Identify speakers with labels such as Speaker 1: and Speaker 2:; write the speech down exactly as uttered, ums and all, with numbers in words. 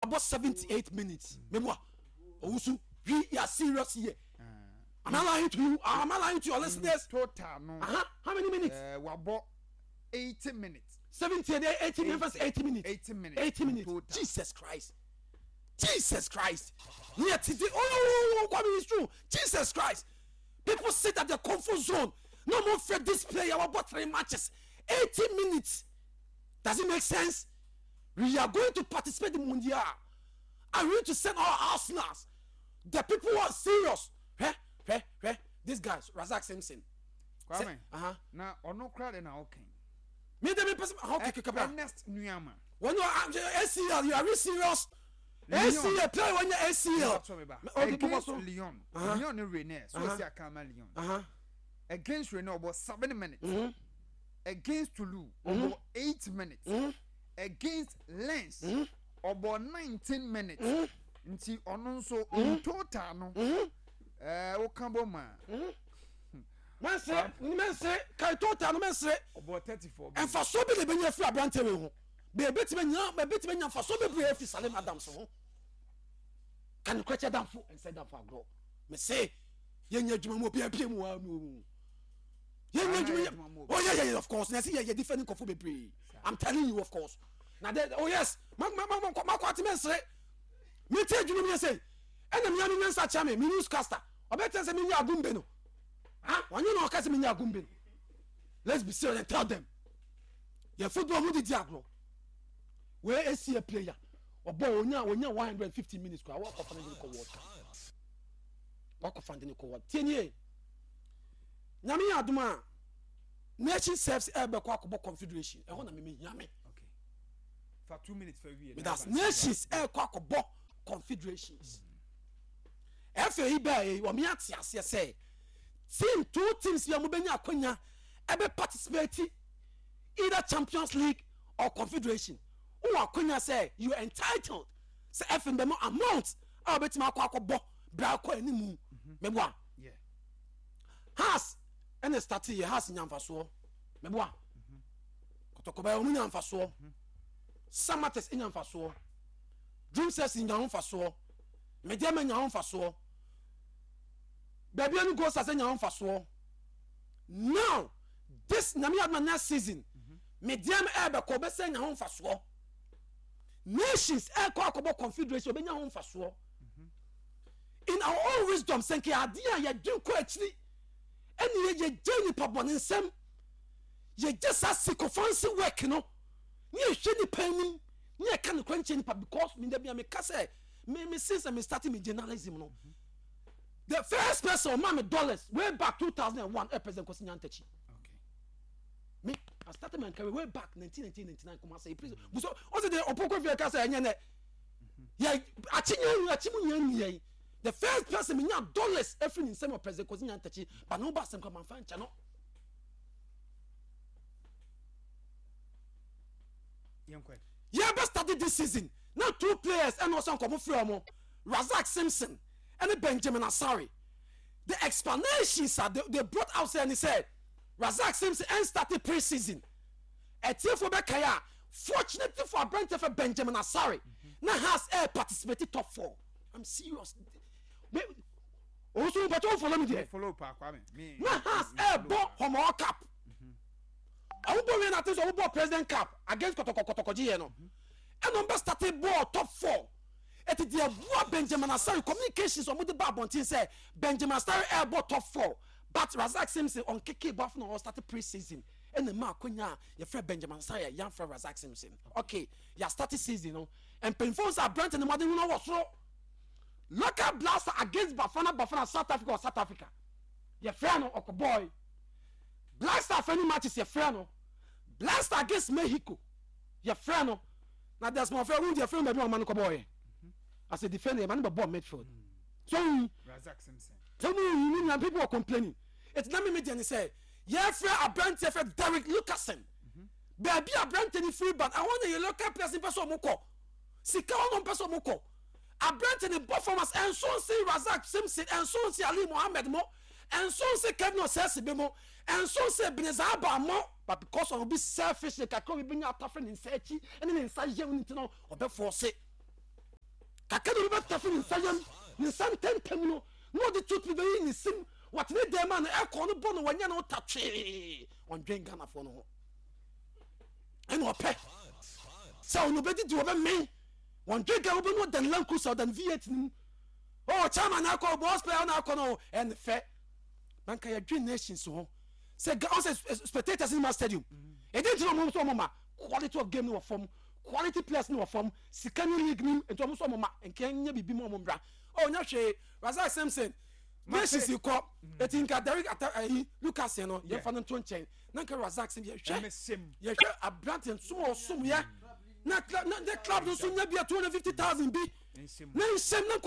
Speaker 1: Wabɔ seventy eight minutes. Meboa Owusu, we are serious here. Am I lying to you? Am I lying to your listeners?
Speaker 2: Total no.
Speaker 1: Uh-huh. How many minutes?
Speaker 2: Uh, wabɔ eighty minutes.
Speaker 1: Seventy eighty minutes. Eighty minutes.
Speaker 2: Eighty minutes.
Speaker 1: Eighty minutes.
Speaker 2: Total.
Speaker 1: Jesus Christ. Jesus Christ. Yeah, today. Oh, oh, oh, oh, it's true. Jesus Christ. People sit at their comfort zone. No more fear this player. Wabɔ three matches. Eighty minutes. Does it make sense? We are going to participate in Mundial. And we need to send our arsenals. The people who are serious. Hey, hey, hey. This guy, Razak Simpson.
Speaker 2: Kwame.
Speaker 1: Uh-huh.
Speaker 2: Na ɔno kora de na ɔkɛn.
Speaker 1: Me de me person. Okay, okay, okay.
Speaker 2: Ernest Nuamah.
Speaker 1: When you are A C L, you are really serious. A C L player when you A C L.
Speaker 2: Okay, against Lyon. Uh-huh. Lyon ne Rennes. So uh-huh. Akama Lyon.
Speaker 1: Uh-huh.
Speaker 2: Against Rennes about seven minutes.
Speaker 1: Mm-hmm.
Speaker 2: Against Toulouse mm-hmm. about eight minutes.
Speaker 1: Mm-hmm.
Speaker 2: Against Lens
Speaker 1: mm-hmm.
Speaker 2: about nineteen minutes.
Speaker 1: Mm-hmm.
Speaker 2: Nti ɔno nso in total no. Ɛɛ woka bɔ ma.
Speaker 1: Mɛnsere mɛnsere kai total no mɛnsere.
Speaker 2: Ɔbɔ thirty four.
Speaker 1: Nfaso bi na ebɛnya firi aberante wei ho. Beebetumi nya beebetumi nya nfaso bebree afi Salim Adams ho. Kanekora kyɛ damfo nsɛ damfo agorɔ. Mɛsɛ yɛnyɛ adwuma mu obi abie mu wa mu. Yɛnyɛ adwuma yɛ, oh yeah yeah yeah of course, na yɛsɛ yɛ yɛ defend nkɔfo bebree. I'm telling you, of course. Na de, oh yes, ma ma ma ma kɔ ati mɛnsere. Mi ti adwuma mi yɛ sɛ ɛna mi ya mi nyansa kyerɛ mi mi newscaster ɔbɛ tɛ sɛ mi nyɛ agumbe no ah wɔnyɛ na ɔka sɛ mi nyɛ agumbe no. Let's be serious and tell them yɛ football mu didi agorɔ wei esi yɛ player ɔbɔ onya onya one hundred and fifty minutes kora wakɔ fa ne de kɔ World Cup, wakɔ fa ne de kɔ World. Tie nie, Nyame yɛ adum a Nation Service ɛbɛkɔ akɔbɔ Confederation ɛhɔ na mímí hia mi.
Speaker 2: Okay. Fa two minutes fa wie.
Speaker 1: That's Nations ɛkɔ akɔbɔ Confederations. Ɛfɛ yi bɛɛ yi wɔn ate aseɛ sɛ team two teams bi a wɔn bɛnya akonya ɛbɛ participate either Champions League or Confederation, wɔn akonya sɛ you are entitled sɛ ɛfɛ ndɛm amount a wɔbɛtumi akɔ akɔbɔ bra akɔ anim mɛboa.
Speaker 2: Yeah.
Speaker 1: Hearts ɛna start yɛ Hearts nyanfasoɔ mɛboa, Kɔtɔkɔbɛ wɔn nyanfasoɔ, Samartex nyanfasoɔ, Dreams F C nya ho nfasoɔ, Medeama nya ho nfasoɔ, baabi ani Gold Stars nya ho nfasoɔ. Now this Nyame aduma next season Medeama ɛɛbɛkɔ ɔbɛsɛ nya ho nfasoɔ, Nations ɛɛkɔ akɔbɔ Confederation ɔbɛnya ho nfasoɔ. In our own wisdom, sɛ nka adeɛ a yɛdwen kɔ akyiri ɛne yɛ yɛgye nipa bɔ ne nsɛm, yɛgye saa sycophancy work no ne yɛhwɛ nipa anim ne yɛka ne kwan kyerɛ nipa, because me da bia meka sɛ me me since I started me journalism no, the first person ɔma me dollars way back two thousand and one ɛ President Kwesi Nyantakyi.
Speaker 2: Okay.
Speaker 1: Me, I started my career way back nineteen ninety-nine Kumasi prison buso ɔsɛ de ɔpɔnkɔ fi ɛka sɛ ɛnyɛ nɛ yɛ akyi nyɛ akyi mu nyɛ nyɛ. The first person me nya dollars efiri ne nsɛm wɔ President Kwesi Nyantakyi, but ne ho ba asɛm kɔ manfa nkyɛn no.
Speaker 2: Yɛnkɔ.
Speaker 1: Yɛbɛ started this season na two players ɛna ɔsɛ nkɔmɔ firi ɔmo, Razak Simpson ɛne Benjamin Asare. The explanations are they, they brought out sɛ ɛne sɛ Razak Simpson ɛn started pre-season. Ɛtiɛfo bɛ kae a, fortunately for aberante fɛ Benjamin Asare na Hearts ɛ participate top four. I'm serious, me owusu mpɔtɔ o follow me
Speaker 2: Me
Speaker 1: there.
Speaker 2: follow pa, Kwame. Me.
Speaker 1: Na Hearts ɛ bɔ Homowo Cup, ɔmo bɔ wia na ati sɛ ɔmo bɔ President Cup against Kɔtɔkɔ, Kɔtɔkɔ gye yɛ no, ɛna ɔmo bɛ start ball top four. Ɛti deɛ boa Benjamin Asare, communications ɔmo de ba abɔnten sɛ Benjamin Asare ɛɛbɔ top four, but Razak Simpson ɔnkeke bɔ afɔ na ɔstart pre-season, ɛna mmaa akonya a yɛfrɛ Benjamin Asare a yɛnfrɛ Razak Simpson. Okay, yɛ start season no, mpanyinfoɔ sɛ aberante ne mɔden ho wɔ soro. Local Blaster against Bafana Bafana, South Africa or South Africa, yɛfrɛ no ɔkɔ boy. Black Star friendly matches yɛfrɛ no. Black Star against Mexico yɛfrɛ no. Na Desmond fɛ wun deɛ fɛn baabi a ɔma no kɔ bɔɔyɛ as a defender, yɛ ma no bɛ bɔ midfield so wun
Speaker 2: Razak Simpson.
Speaker 1: So mu yi ni people were complaining. Eti na mímí deɛ ni sɛ yɛfrɛ aberanteɛ fɛ Derek Lucasen, baabi aberanteɛ ni firi ban ɛhɔ na yɛ local players mpɛ sɛ ɔmo kɔ sika hɔ na ɔmo pɛ sɛ ɔmo kɔ. Aberanteɛ ni bɔ performance ɛnso nsi Razak Simpson, ɛnso nsi Ali Mohammed mo, ɛnso nsi Kevin Osesi mo, ɛnso nsi Ebenezer Aba mo, but because of obi selfish ne kakra obi bi nya atafere ne nsa akyi ɛne ne nsa yɛ ne ti no ɔbɛ force. Kakra na obi bɛtafe ne nsa yam, ne nsa ntɛntɛm no, na ɔde toothpick bɛyi ne sim, wɔtene dɛm a no ɛkɔ no bɔ no, wɔnyɛ no ta twee. Ɔndwen Ghanafoɔ no ho, ɛna ɔpɛ sɛ ɔno bɛdidi, wɔbɛmɛn. Wɔndwen Ghana. Wobɛnu ɔdan Land Cruiser, ɔdan V eight no mu. Oh, chairman akɔ, boss player na akɔ no, ɛne fɛ na nka yɛdwen nations ho sɛ ga ɔsɛ spectators in ma stadium ɛdi nti na ɔmo nso ɔmo ma quality of game no wɔ fam, quality players no wɔ fam, sika ne league nim, nti ɔmo nso ɔmo ma nka nyɛ biribi mu, ɔmo mbra. Ɔ nya hwee. Razak Simpson, nations kɔ eti nka Derek ata ɛyi Lucas no, yɛmfa no nto nkyɛn na nka Razak Simpson yɛhwɛ
Speaker 2: ɛmɛsɛm.
Speaker 1: Yɛhwɛ aberante nsom a ɔsom yɛ na club na ne club no nso nya bi a two hundred fifty thousand bi
Speaker 2: nsɛm
Speaker 1: na nhyɛm na